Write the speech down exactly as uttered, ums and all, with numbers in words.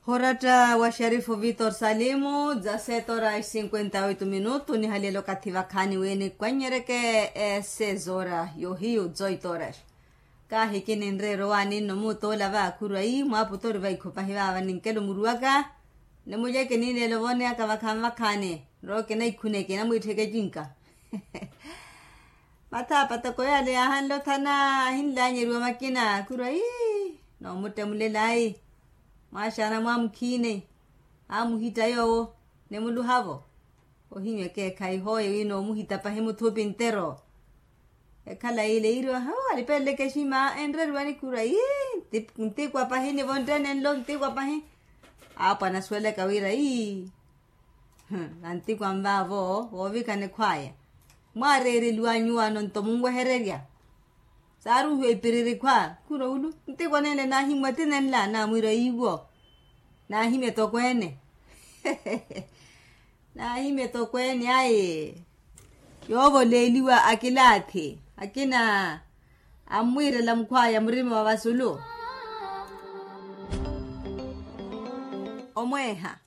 Horatta wa sharifu vitor salimu za setora cinquenta oito minutu nihaliyela okathi vakhaani wi nikwannyereke. Esezora yohiyu zoitoras kahi kininreera owaani nno muutoola vakhuru ayi mwaaputori vaikho pahi vaava ninkela omuruwaka. Nimuleke niileela ovooneyaka vakhaani vakhaani nrooke naikhuneke namwiittheke cinka. Mathaapa toko yaale yaahanle othana ahinlaanyeriwa makina khurwa ii noomuttemulela ayi. Mwaaxaana mwaamukhiine amuhitta yoowo nimuluha-vo. Ohinyu ekeekhayi hooye wi noomuhitta pahi muthupi ntero. Ekhala yiile yiiriwa hoo alipeleleke exima enreriwani khurwa ii. Ntikwa pahi nivo ntteene nlo ntikwa pahi. Aapwa anasuwelaka wira ii. Vantikwa nvaavo voovikana ekhwaya mwaareereliwa nyuwano nto munwehererya. Saaruuhiwa ipiriri khwa khuro ulu ntikwa nenle naahimmwa ti nenla naamwiira iiwo. Naahimya etokweene. Naahimya etokweene ayi. Yoovoleeliwa akilaathi akina ammwiirela mukhwaya murima wa vasulu. Omweeha